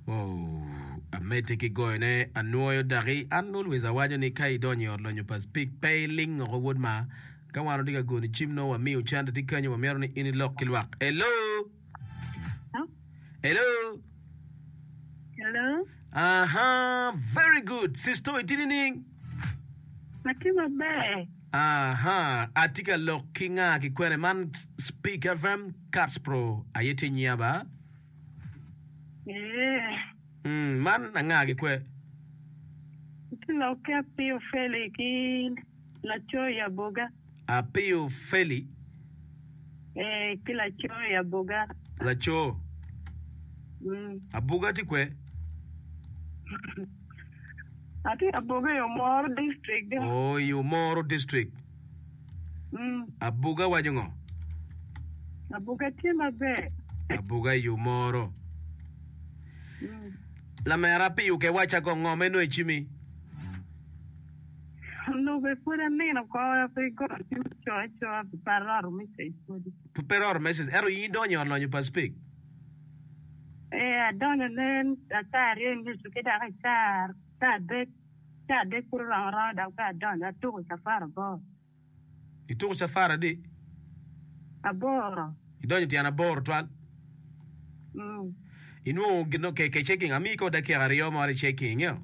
Oh, amedde ki goyone anwoyo daki an always awaco ni ka idonyo i ot lonyo pa Speke pe iling oko wod ma. Ka wan watye ka goni cim nongo wamiyo cente tye kenyo wamito ni in ilok ki lwak. Hello! Hello! Hello. Aha, very good. Sister, itye nining? Atye maber. Aha, atye ka lok ki nga ki kwene man Speak FM Katspro aye tye nyinga ba. Ee. Mm, man anga ki kwe? Atye lok ki Apiyo Feli ki laco i Aboga. Apiyo Feli. Ee, ki laco i Aboga. Laco. Mm. Abuga tye kwe? Atye Aboga i Omoro District. Oh, i Omoro District. Mm. Abuga waco ngo? Abuga tye maber. Abuga i Omoro. Mm. Lamera Apiyo ke wacca kong ngo ma inongo i cimi? Onongo bene pwod anino oko pe igoyo cim icoyo acoya pi pe aroto message pwodi. Pe iroto message ento in idonyo i ot lonyo pa Speke? Ee adonyo nen caa aryo i nucu ki dok i caa adek caa adek pud oromo aroma dok bene adonyo atuko cafar aboro. Ituko cafar adi? Aboro. Idonyo tyen aboro twal? Mm. Inwongo gin okay ke checking amiyi ko dakika aryo moro i checking ingeyo?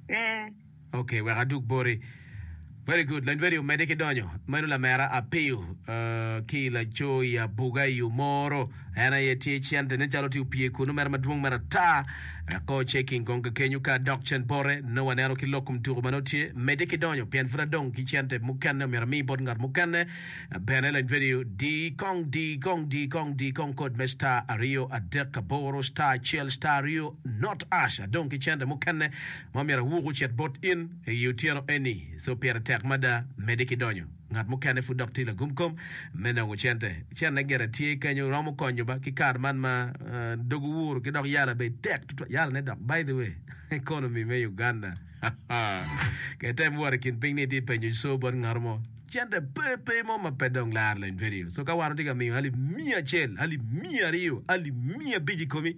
Ee. Ok wek adug boti. Very good lany radio omedde ki donyo meno lamera Apiyo uh, ki laco i Abuga i Omoro en aye tye cente nen calo tye opye kunu mere madwong mere ata ko checking kong kakenyo ka dok cen bote nongo waneno ki lok kom tuko ma nongo tye medde ki donyo pien pud adong ki cente mukene omyero ami bot ngat mukene Bene lany vedio di kong di kong di kong di kong kod me star aryo adek aboro star acel star aryo not ash adong ki cente mukene ma myero awuk ocit bot in i otyeno eni so pire tek mada mede ki donyo ngat mukene pud dok tye lagum kom me nongo cente cente gire tye kenyo romo konyo ba ki kare man ma dog owuro ki dok yala bene tek tutwal yala ne dok by the way economy me Uganda ke tem wot i kin piny ni itye penyo co bot ngat mo Cente pe pe mo ma pe dong laro lony vedio. So ka wan watye ka miyo alip miya acel, alip 200, alip 500 i komi,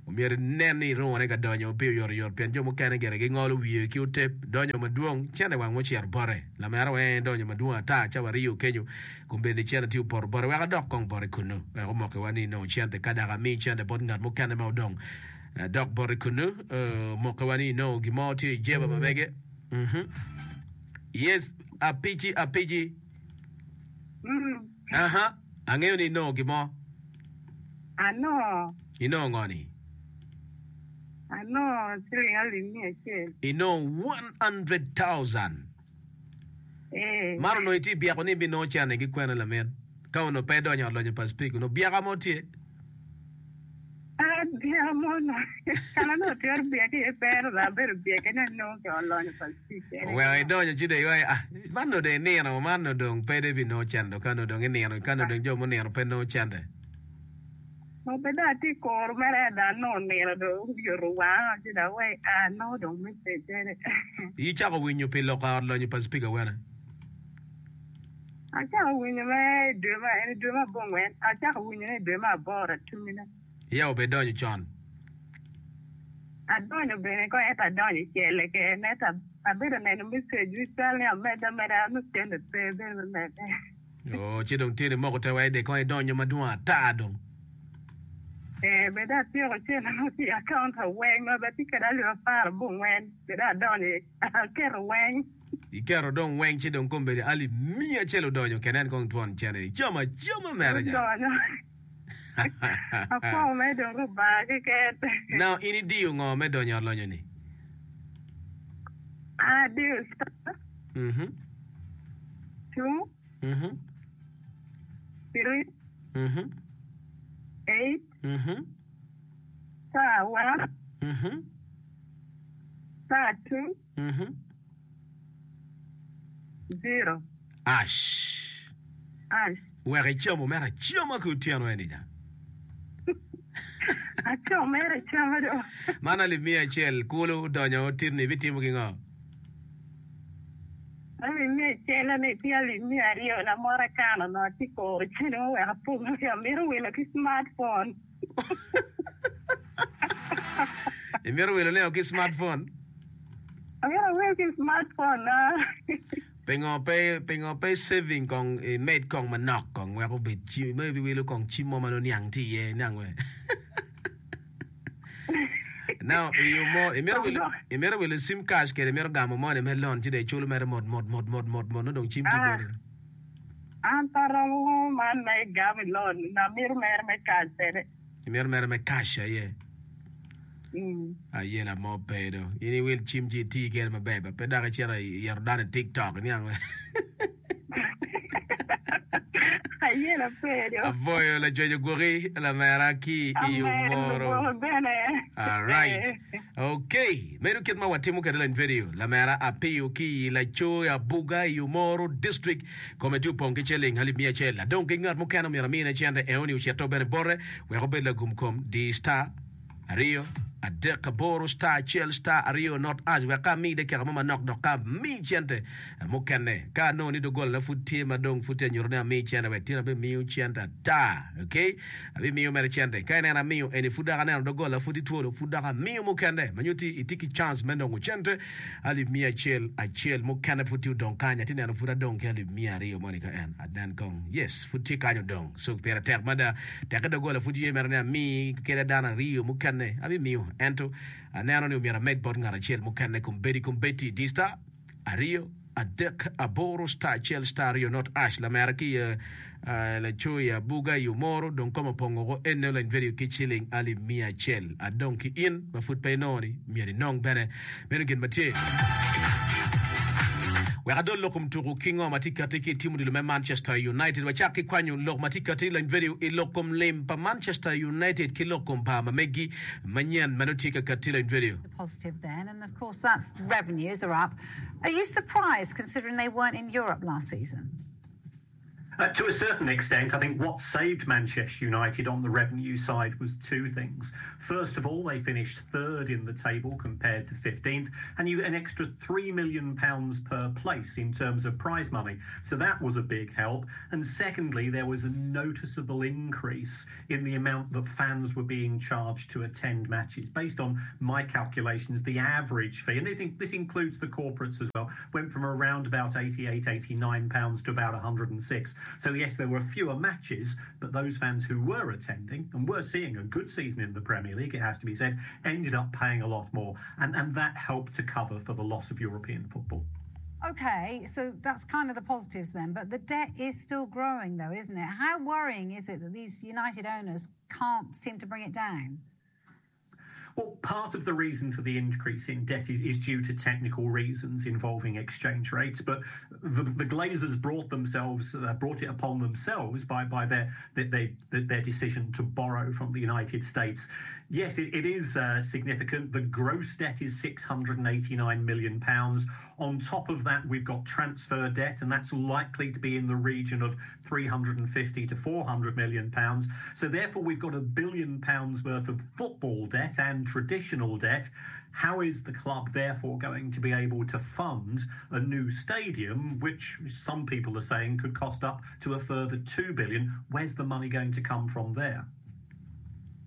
omyero inen ni irungone ka donyo pi oyotoyot pien jo mukene gire gingolo wiye ki otep donyo madwong cente wang ocito bote. Lamera weng donyo madwong ata cawa aryo kenyo kombeddi cente tye opoto bote wek adok kong bote kunnu wek omokiwa ni inongo cente ka dok ami cente bot ngat mukene ma odong dok bote kunnu omokiwa ni inongo gin mo tye i jeba ma mege. Yes, apici apici. Mm. Aha, angeyo ni inongo gin mo. Anongo. Inongo ngo ni? Anongo ciling alip 100. Inongo 100,000. Eh. Man onongo itye byeko ni ibinongo cene ki kwene lamin? Ka onongo pe idonyo i ot lonyo pa Speke, onongo byeka mo tye? Byeka mo onongo kana onongo twero byeke iye pe ento dong abedo byeke ni anongo ki i ot lonyo pa Speke. Oweko idonyo ci dong iwaco ah man onongo dong inino man onongo dong pe dong ibinongo cente dong ka onongo dong inino ka onongo dong jo munino pe nongo cente. Be dong atye ka kuro mere dong anongo nino dong oyuto wanga ci dong awaci ah anongo dong message eni. Icako winyo pi lok ot lonyo pa Speke awene? Acako winyo me i dwe ma en i dwe me abongwen, acako winyo ne i dwe me aboro atumine. Iya obe donyo con. Adonyo bene kong ento adonyo i cele keken ento abedo neno message wi cal ni amedde ameda nongo cente pe bene me medde. Oo ci dong tye ni moko te wa ide kong idonyo madwong ata dong. Ee bene dong atyeko cente nongo tye i account weng ma bene atye kwede alip aparabongwen bene dong adonyo aketo weng. Iketo dong weng ci dong kombeddi alip miya acel odonyo kene en kong twon cene icamo acama mere nya. Odonyo. Apwo me dong Rubanga keken. Now in idiyo ngo me donyo ot lonyo ni? An adiyo star Mhm. two Mhm. three Mhm. eight Mhm. star one Mhm. star two Zero. Ash. Ash. Wek icam omera acama ki otyeno eni ja. Acam omera acama do. Man alip 100 kulu odonyo otirni ibitimo ki ngo? Alip 100 eni tye alip 200 na mot akano onongo atye koro cene mo wek apong amito wilo ki smart phone. Imito wilo ne ki smartphone? Amito awil ki smartphone na. Pingo pe pingo pe saving kong imed kong manok kong wek obed cim ma ibiwilo kong cim mo ma nongo niang tye iye niang we. Now iyo mo imito wilo imito wilo sim cash kede imito gamo moni me loan ci dong iculo mere mot mot mot mot mot mot nongo dong cim tye boti. An pe aromo man ma igamo i loan amito mere me cash bene. Imito mere me cash aye. Ayela mo pe do. In iwil cim ci iti kede maber ba pe dok icito iyeto dano i tiktok iniang we. Ayela pe do. Apwoyo lacwec ogwoki lamera ki i Amer Omoro. lugwoki bene. Alright. Okay. Meno kit ma watimo kwede lony vedio. Lamera Apiyo ki i Laco Abuga i Omoro District. Kome tye opong ki ciling alip miya acel. Adong ki ngat mukene omyero amine cente eoni ocito bene bote wek obed lagum kom. Di star aryo adek aboro star acel star aryo not ash wek ka ami dakika mo manok dok ka ami cente mukene. Ka anongo ni dogolana pud tye ma dong pud tye anyuto ni ami cente wek tin abimiyo cente ata. Okay? Abimiyo mere cente. Ka ineno amiyo eni pud dok aneno dogola pud itwolo pud dok amiyo mukene ma nyutti itye ki chance me nongo cente. Alip miya acel acel mukene pud tye odong kany, atye neno pud adong ki alip miya aryo moni ka en anen kong. Yes, pud tye kany odong. So pire tek mada. Tekke doggola pud ye mere ni ami kede dano aryo mukene, abimiyo. Ento aneno ni omyero amed bot ngat acel mukene kombeddi kombeddi. Di star aryo adek aboro star acel star aryo not ash lamera ki i Laco i abuga i omoro dong kome opong woko ene oleny vedio ki ciling alip miya acel. Adong ki in ma pud pe inongo ni myero inong bene. Meno gin ma tye. Wek adol lok kom tuku ki ngo ma tye kati ki i tim odilo me Manchester United. Wacak ki kwanyo lok ma tye kati lony vedio i lok kom lim pa Manchester United ki lok kom par ma megi manyen ma nongo tye ka kati lony vedio. Positive then and of course that's revenues are up. Are you surprised considering they weren't in Europe last season? Uh, to a certain extent, I think what saved Manchester United on the revenue side was two things. First of all, they finished third in the table compared to 15th, and you an extra £3 million per place in terms of prize money. So that was a big help. And secondly, there was a noticeable increase in the amount that fans were being charged to attend matches. Based on my calculations, the average fee, and this, this includes the corporates as well, went from around about 88, 89 pounds to about 106. So yes, there were fewer matches, but those fans who were attending and were seeing a good season in the Premier League, it has to be said, ended up paying a lot more. And, and that helped to cover for the loss of European football. Okay, so that's kind of the positives then, but the debt is still growing though, isn't it? How worrying is it that these United owners can't seem to bring it down? Well, part of the reason for the increase in debt is, is due to technical reasons involving exchange rates, but the, the Glazers brought themselves uh, brought it upon themselves by by their their, their decision to borrow from the United States. Yes, it, it is uh, significant. The gross debt is 689 million pounds. On top of that, we've got transfer debt, and that's likely to be in the region of 350 to 400 million pounds. So therefore, we've got a billion pounds worth of football debt and traditional debt. How is the club therefore going to be able to fund a new stadium, which some people are saying could cost up to a further 2 billion? Where's the money going to come from there?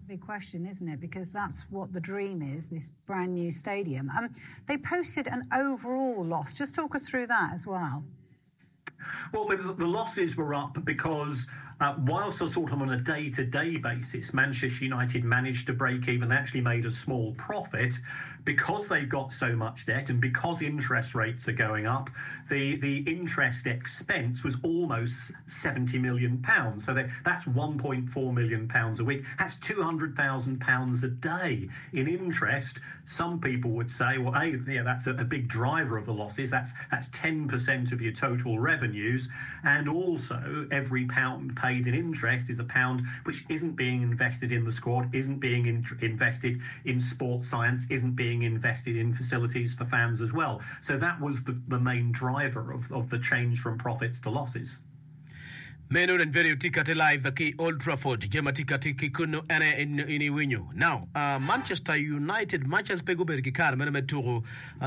Big question, isn't it? Because that's what the dream is, this brand new stadium. Um, they posted an overall loss. Just talk us through that as well. Well, the losses were up because uh, whilst sort of on a day-to-day basis, Manchester United managed to break even. They actually made a small profit because they've got so much debt and because interest rates are going up. The the interest expense was almost 70 million pounds. So they, that's 1.4 million pounds a week. That's 200,000 pounds a day in interest. Some people would say, well, a yeah, that's a, a big driver of the losses. That's that's 10% of your total revenues, and also every pound paid in interest is a pound which isn't being invested in the squad, isn't being in, invested in sports science, isn't being invested in facilities for fans as well. So that was the, the main driver of, of the change from profits to losses. Meno Renverio tye kati live ki Old Trafford. Jami ma tye kati ki kunnu en aye in iwinyo. Now, Manchester United much as pe gubedo ki kare meno me tuku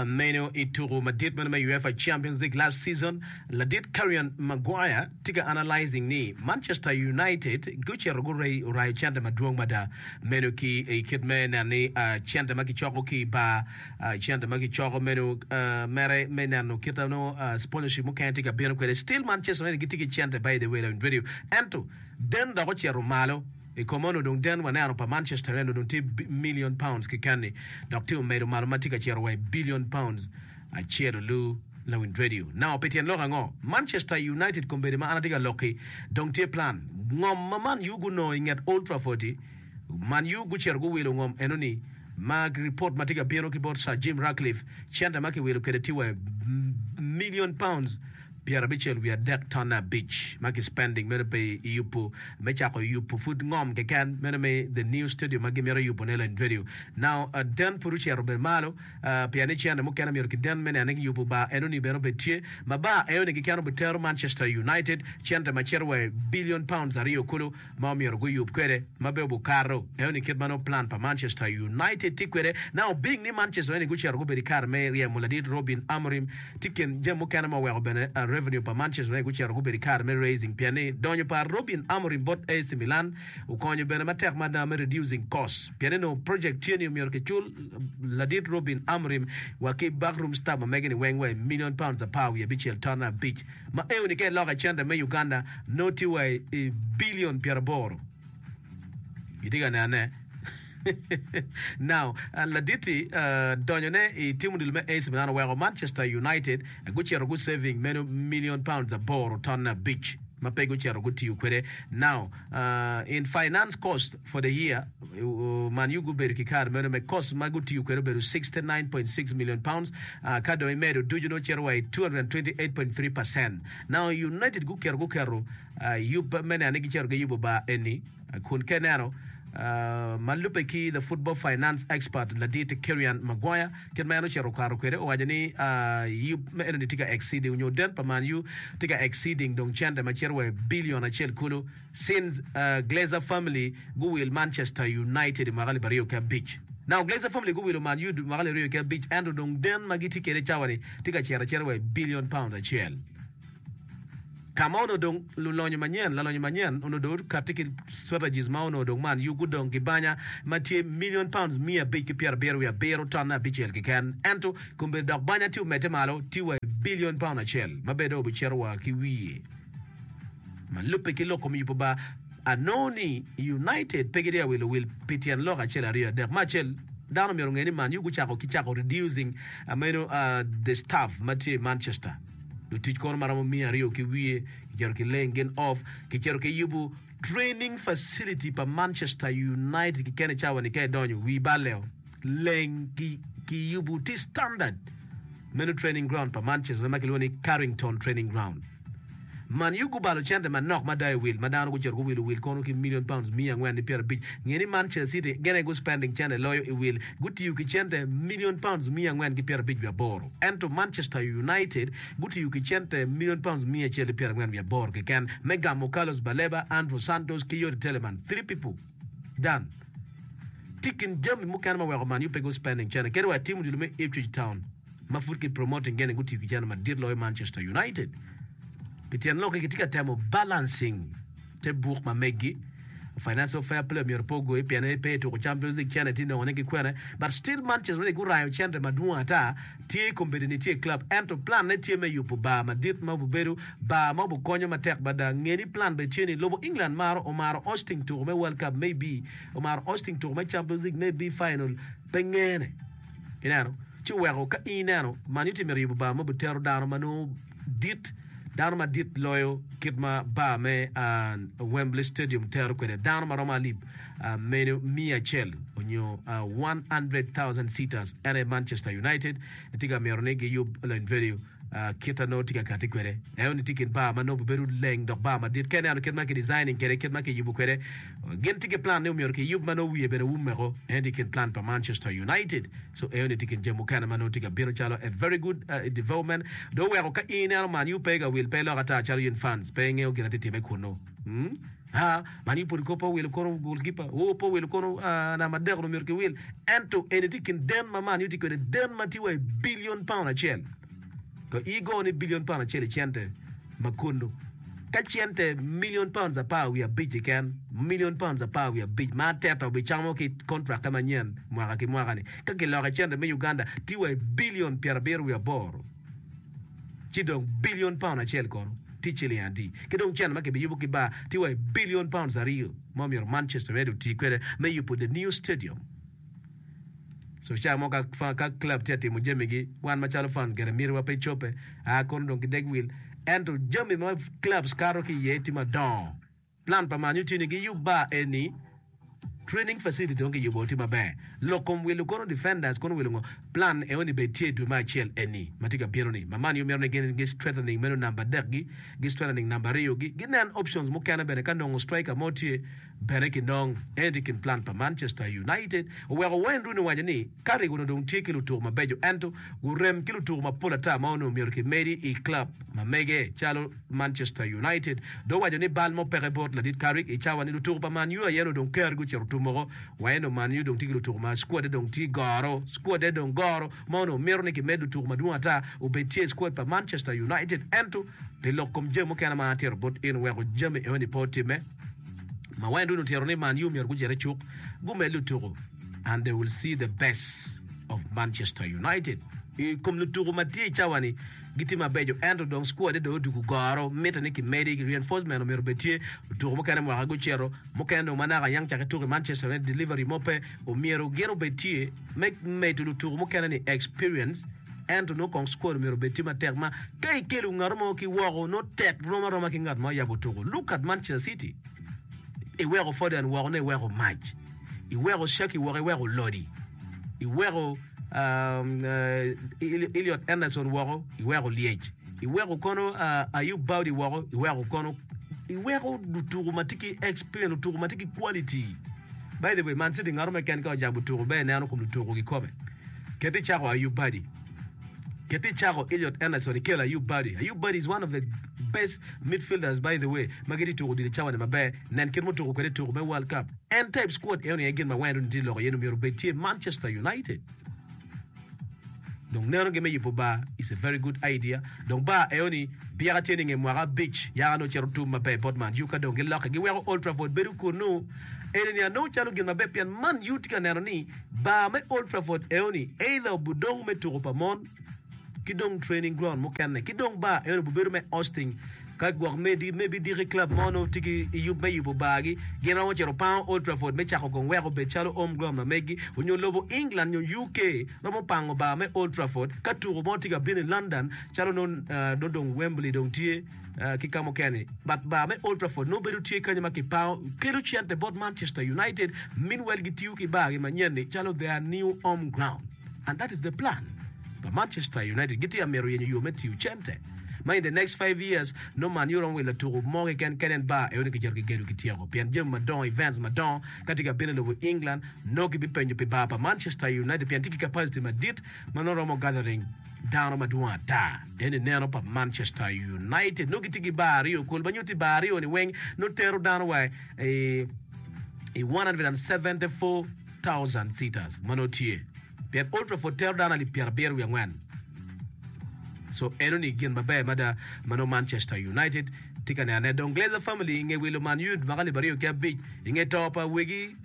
meno i tuku madit meno me UEFA Champions League last season, ladit Karian Maguire tye ka analyzing ni Manchester United gucito gurayo cente madwong mada meno ki i kit me neno ni cente ma kicoko ki i bar Cente ma kicoko meno mere me neno kit ma nongo sponsorship mukene tye ka bino kwede. Still Manchester United gitye ki cente by the way lawiny radio. Ento den dok ocito malo i kom onongo dong den waneno pa Manchester United onongo dong tye million pounds keken ni dok tye omedo malo ma tye ka cito wa i billion pounds acel olu lawiny radio. Now pi tyen lok ango? Manchester United kombeddi ma an atye ka lok-ki dong tye plan ngom ma Man U gunongo i nget Old Trafford-ti Man U gucito guwilo ngom enoni ma ripot ma tye ka bino ki bot Sir Jim Ratcliffe, cente ma kiwilo kwede tye wa i million pounds 63 tonne abic ma ki spending meno pe i yubu me cako yubu pud ngom keken meno me the new stadium ma gimito yubu ne lany radio now den pud ocito bene malo pien ni cente mukene myero ki den me neno ni yubu bar enoni bene obed tye ma bar enoni keken obitero Manchester United cente ma cito wa i billion pounds aryo kulu ma omyero guyub kwede ma be obukato eno ni kit ma nongo plan pa Manchester United tye kwede. Now being ni Manchester United gucito gubedo i kare me ryemo ladit Robin Amorim tye kin jami mukene ma oweko bene revenue pa Manchester United gucito gubedo i kare me raising pien ni donyo pa Robin Amorim bot AC Milan okonyo bene matek mada me reducing cost pien ni nongo project tye ni omyero kicul ladit Robin Amorim wa ki backroom staff ma mege ni weng wa i million pounds 15 tonne abic. Ma eoni ka iloko i cente me Uganda nongo tye wa i billion 80. Itye ka nene? Now, ladit-ti donyone i tim odilo me AC Milan oweko Manchester United gucito gu saving meno million pounds aboro tonne abic ma pe gucito gutiyo kwede. Now, in finance cost for the year, Man U gubedo ki kare meno me cost ma gutiyo kwede obedo £69.6 million, ka dong imedo ducu nongo cito wa i 228.3%. Now United guketo guketo yub me neno ni gicito giyubo bar eni kun ka ineno ma lubbe ki the football finance expert ladit Kerian Maguire kit ma en ocito okato kwede owaco ni yub me enoni tye ka exceeding nyo den pa Man U tye ka exceeding dong cente ma cito wa i billion acel kulu. Since Glazer family guwil Manchester United i mwaka 2005. Now Glazer family guwilo Man Utd i mwaka 2005 ento dong den ma gitye kwede cawa ni tye ka cito acita wa i billion pound acel. Ka ma onongo dong lulonyo manyen, lalonyo manyen onongo dong okatti ki strategies ma onongo dong Man U gudong ki banya ma tye million pounds 577 tonne abicel keken. Ento kombeddi dok banya tye omedde malo tye wa i billion pound acel ma bene dong obicito wa ki wiye. Ma lubbe ki lok kom yubo bar, anongo ni United pe gitye ka wilo wil pi tyen lok acel aryo adek. Me acel, dano myero onge ni Man U gucako ki cako reducing meno the staff ma tye i Manchester. Lutic kono ma romo 200 ki wiye kicito ki laying gin off, kicito ki yubo training facility pa Manchester United keken i cawa ni ka idonyo wii balle o leng ki kiyubo tye standard meno training ground pa Manchester ma kilwongo ni Carrington Training Ground. Man U gubalo cente manok mada i wil ma dano gucito guwilo wil kono ki million pounds 450. Nge ni Manchester City gin aye gu spending cente loyo i wil, gutiyo ki cente million pounds 458. Ento Manchester United gutiyo ki cente million pounds 148 keken me gamo Carlos Baleba, Andrew Santos ki Youri Tielemans. Three people done. Tye kin jami mukene ma weko Man U pe gu spending cente kadi wa i tim odilo me Ipswich Town. ma pud ki promoting gene gutiyo ki cente madit loyo Manchester United. Pi tyen lok-ki kitye ka temo balancing te buk ma meggi. Financial fair play myero pe ogoyi pien pe i tuko Champions League cente tye nongone ki kwene but still Manchester United gurayo cente madwong ata tye kombeddi ni tye i club ento plan ne tye me yubo bar madit ma obibedo bar ma obikonyo matek mada. Nge ni plan bene tye ni lobo England maro omaro hosting tuko me World Cup maybe omaro hosting tuko me Champions League maybe final pe ngene. Ineno? Ci oweko ka in ineno, man itye mito yubo bar ma obitero dano ma nongo dit, dano madit loyo kit ma bar me Wembley Stadium tero kwede, dano ma romo alip meno 100 onyo 100,000 seaters. En aye Manchester United tye ka mito ni giyub Leny Radio. Kit a nongo tye ka kati kwede. Eno ni tye i kin bar ma nongo obedo leng dok bar madit. Ka ineno kit ma ki designing kwede, kit ma kiyubo kwede, gin tye ki plan ni omyero kiyub ma nongo wiye bene wummeko. Eno tye i kin plan pa Manchester United. So eno ni tye i kin jami mukene ma nongo tye ka bino calo a very good development. Dong oweko ka in ineno Man U pe ka wil pe iloko ata calo in fans pe ingeyo gin ma tye time kunu. Hmm? Ha, Man U pud ko pe owilo kono goalkeeper, oo pe owilo kono namba adek onongo myero kiwil. Ento eni tye i kin den ma Man U tye kwede, den ma tye wa i billion pound acel. Ka igo ni billion pound acel i cente ma kunnu, ka cente million pounds 15 keken, million pounds 15 ma Arteta obicamo ki kontrak-ke manyen mwaka ki mwaka-ni, ka kiloko i cente me Uganda tye wa i billion 78, ci dong billion pound acel kono tye ciling adi? Ki dong cente ma kibiyubo ki bar tye wa i billion pounds aryo ma omyero Manchester United oti kwede me yubo the new stadium. So ca mo ka ka club tye ka timo jamigi, wan macalo fans gire mitiwa pe cobbe, aa kono dong kideg wil. Ento jami ma clubs kato ki iye tye madongo. Plan pa Man U tye ni giyub bar eni, training facility dong kiyubo tye maber. Lok kom wilo kono defenders kono wilo ngo, plan eoni bed tye i dwe me acel eni ma tye ka bino ni. Ma Man U mito ni gin gi strengthening meno namba adek gi, gi strengthening namba aryo gi, ginen options mukene bene ka nongo striker mo tye. Bene kinong en tye i kin plan pa Manchester United oweko Wayne Rooney owaco ni Carrick onongo dong tye ki lutuku mabeco ento gurem ki lutuku mapol ata ma onongo myero kimedi i club ma mege calo Manchester United. Dong owaco ni bal mo peke bot ladit Carrick i cawa ni lutuku pa Man U aye onongo dong kergi ocito tum woko wa ento Man U dong tye ki lutuku ma squad-de dong tye goro squad-de dong goro ma onongo mito ni kimed lutuku madwong ata obed tye i squad pa Manchester United ento pi lok kom jami mukene ma atito bot in oweko jami enoni pe otimme. Ma Wayne Rooney otito ni Man U myero gucit i cuk gumed lutuku and they will see the best of Manchester United. I kom lutuku ma tye i cawa-ni gitye mabeco ento dong squad-de dong odwogo goro, mitte ni kimedi, reinforcement omyero obed tye. Lutuku mukene mwaka gucito, mukene dong ma naka yang cak ituko i Manchester United delivery mo pe, omyero gin obed tye me medo lutuku mukene ni experience. Ento nongo kong squad myero obed tye matek ma ka ikelo ngat mo ki woko nongo tek rom aroma ki ngat ma oyabo tuko. Look at Manchester City. Iweko Foden woko nongo iweko mac. Iweko Shaki woko iweko Lodi. Iweko um, uh, Elliot Anderson woko iweko Lyec. Iweko kono uh, Ayub Baudy woko iweko kono iweko lutuku ma tye ki experience, lutuku ma tye ki quality. By the way, Man City ngato mo keken ka ojabo tuku ber ineno kom lutuku kikome. Ket icako Ayub Badi. Ket icako Elliot Anderson ikelo Ayub Badi. Ayub Badi is one of the best midfielders by the way ma gitye tuko odilo cawa ni maber. Nen kit ma otuko kwede i tuko me World Cup. En type squad eno ni aye gin ma Wayne Rooney tye loko iye ni myero obed tye Manchester United. Dong neno gi me yubo bar is a very good idea. Dong bar eo ni byeka tye ni nge mwaka abic yaka nongo cito tum maber bot Man U ka dong giloke giweko Old Trafford bedo kunu. Eni ni anongo calo gin maber pien Man U tye ka neno ni bar me Old Trafford eo ni either obudong me tuko pa mon ki dong training ground mukene ki dong bar eno obubedo me hosting Ka gwok maybe diki club mo nongo tye ki yub me yubo bar gi, gin romo cito pango Old Trafford me cako kong wek obed calo home ground ma megi, onyo lobo England nyo UK romo pango bar me Old Trafford ka tuko mo tye ka bino i London calo nongo dong Wembley dong tye ki ka mukene but bar me Old Trafford nongo bedo tye kenyo ma kipango kelo cente bot Manchester United meanwhile gitiyo ki bar gi manyen ni calo their new home ground and that is the plan pa Manchester United gitye ka mito yenyo yo me tiyo cente. Ma in the next 5 years nongo Man U romo wilo tuku mo keken kadi en bar eno ni kicito kigedo kityeko pien jami madongo events madongo ka tye ka bino i lobo England nongo kibipenyo pi bar pa Manchester United pien tye ki capacity madit ma nongo romo gathering dano madwong ata. Eni neno pa Manchester United nongo gitye ki bar aryo kol ma nyutti bar aryo ni weng nongo tero dano wa i 174,000 seaters ma nongo tye. Pien Old Trafford tero dano alip 74. So eno ni gin maber mada ma nongo Manchester United tye ka nenone. Dong Glazer family i nge wilo Man Utd mwaka 2005 i nge to pa wegi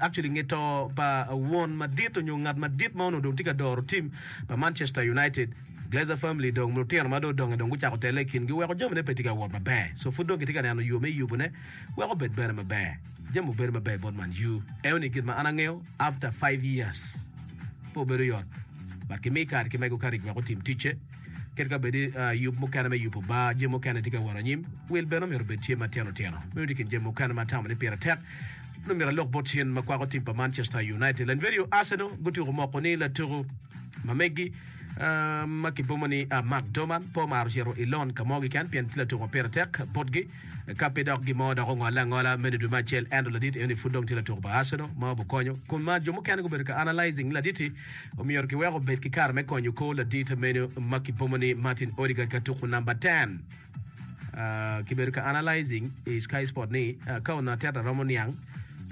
actually i nge to pa won madit onyo ngat madit ma onongo dong tye ka doro team pa Manchester United, Glazer family dong lutino ma dong odonge dong gucako tele i kingi weko jamine pe tye ka wot maber. So pud dong kitye ka neno yo me yubone wek obed bene maber. Jami obedo maber bot Man U. Eno ni gin ma an angeyo. After 5 years pe obedo yot but kimi kare ki mego Carrick wek otim ticce. Kit ka bedi yub mukene me yubo bar, jami mukene tye ka wot anyim, wil bene omyero obed tye matino tino. Meno tye kin jami mukene ma atamo ni pire tek nongo myero alok bot cen ma kwako tim pa Manchester United. Lanvedio Arsenal gutyeko moko ni latuku ma megi. Ma kibomo ni Mark Doman pe omaro cito i loan ka mo keken pien tye latuko ma pire tek botgi. Ka pe dok gin mo dok ongolle angola meno i dwe me acel ento ladit eno ni pud dong tye latuko pa Arsenal ma obikonyo. Kun ma jo mukene gubedo ka analyzing ni ladit-ti omyero kiwek obed ki kare me konyo kor ladit meno ma kibomo ni Martin Odegaard ka tuko namba ten. Kibedo ka analyzing i Sky Sport ni ka onongo Arteta romo niang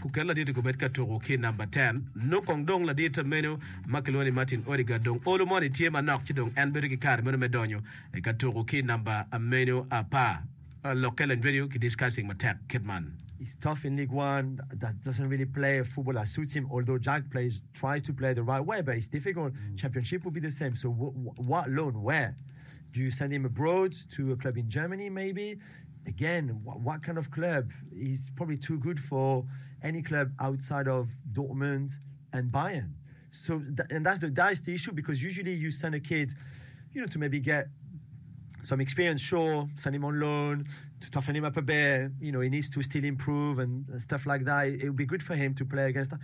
kuket ladit-ti kubed ka tuko ki namba ten, nongo kong dong ladit meno ma kilwongo ni Martin Odegaard dong olo moni tye manok ci dong en bedo ki kare meno me donyo ka tuko ki namba meno apar. Lokke leny radio ki discussing matek kit man. He's tough in League One, that doesn't really play a football that suits him, although Jack plays tries to play the right way, but it's difficult. Championship will be the same, so what loan, where? Do you send him abroad to a club in Germany maybe? Again, what kind of club? He's probably too good for any club outside of Dortmund and Bayern. So, and that's the, that is the issue because usually you send a kid, you know, to maybe get some experience, sure, send him on loan to toughen him up a bit. You know, he needs to still improve and stuff like that. It, would be good for him to play against. That.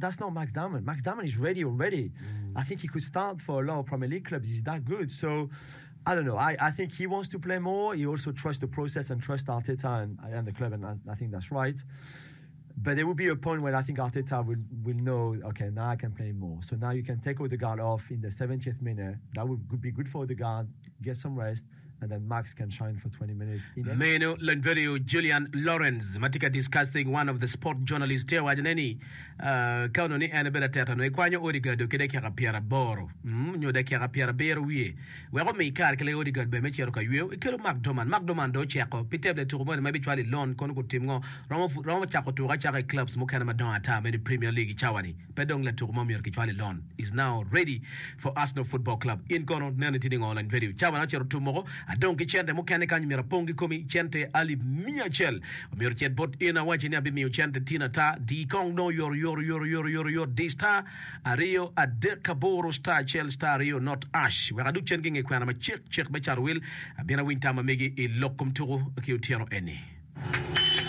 That's not Max Dowman. Max Dowman is ready already. Mm. I think he could start for a lot of Premier League clubs. He's that good. So, I don't know. I, I think he wants to play more. He also trusts the process and trusts Arteta and, and the club, and I, I think that's right. But there will be a point where I think Arteta will, will know, okay, now I can play more. So now you can take Odegaard off in the 70th minute. That would be good for Odegaard, get some rest, and then Max can shine for 20 minutes in any. Meno Lanverio Julian Lawrence ma tye ka discussing one of the sport journalist tye waco ne ni ka onongo ni en ebedo Arteta onongo ekwanyo Odegaard ki dakika pyeraboro nyo dakika pyerabiro wiye Wek omi kare ki lega Odegaard ber me cito ka yweyo, ekelo Mark Doman. Mark Doman dong oceko pi teb latuko moni ma ebicwalo i loan kono gutim ngo? Romo romo cako tuko acaka i clubs mukene madongo ata meno i Premier League i cawa ni. Pe dong latuko mo myero kicwal i loan. Is now ready for Arsenal Football Club. In kono neni tye ni ngo lany vedio? Cawa na ocito tum moko, adong ki cente mukene kany myero apong ki komi, cente alip miya acel. Omyero ocit bot in awaci ni abimiyo cente tin ata. Di kong dong oyot oyot oyot oyot oyot oyot di star Aryo, adek, aboro, star acel, star aryo, not ash. Wek adug cen ki nge kwena macek cek me cato wil, abin awiny tam ma megi i lok kom tuku ki otyeno eni.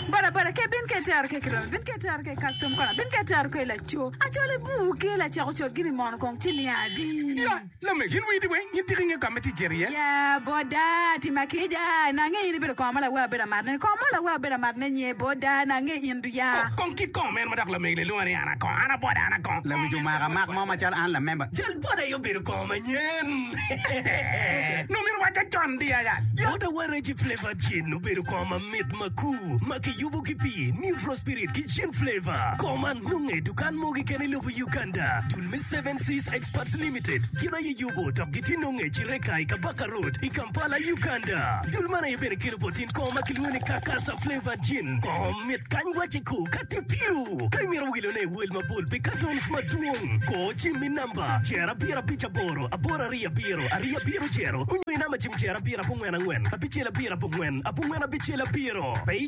Boda boda ke bin ke tero ke kiromi bin ke tero ke custom kona bin ke tero ke laco acol ibu ke lacek ocol gini mono kong ci niang adi. Ya, lamego, in wii di weng, in tika ingeyo ka ma itye cito iye? Ya, boda, tima kica, nange in ibedo kongo ma lawe abedo amatne ni, kongo mo lawe abedo amatne nye, boda, nange in du ya. Kong kit kongo meno ma dok lamego-ni lwonga ni an akongo, an aboda, an akongo. Lawic omako amak mo macalo an lamemba. Jal boda aye obedo kongo manyen. Nongo myero wacca con di aya. Boda wa Reggie Flavor Gin obedo kongo mamit makur ma kiyubo ki pii, neutral spirit ki gin flavor. Kongo man nonge i dukan mo keken i lobo Uganda. Dul me Seven Seas Experts Limited gin aye yubo dok gitye nonge i Kireka i Kabaka Road i Kampala, Uganda. Dul man aye bene kelo bot in kongo ma kilwongo ni Kakasa Flavor Gin. Kongo mit kany wacce ku ka tye piu. Ka imito wilone i wel mabol pi cartons madwong, kor cim i namba jer abiro abic aboro aboro aryo abiro aryo abiro jero onyo i namba cim jer abiro abongwen angwen abicel abiro abongwen abongwen abicel abiro. Pe i.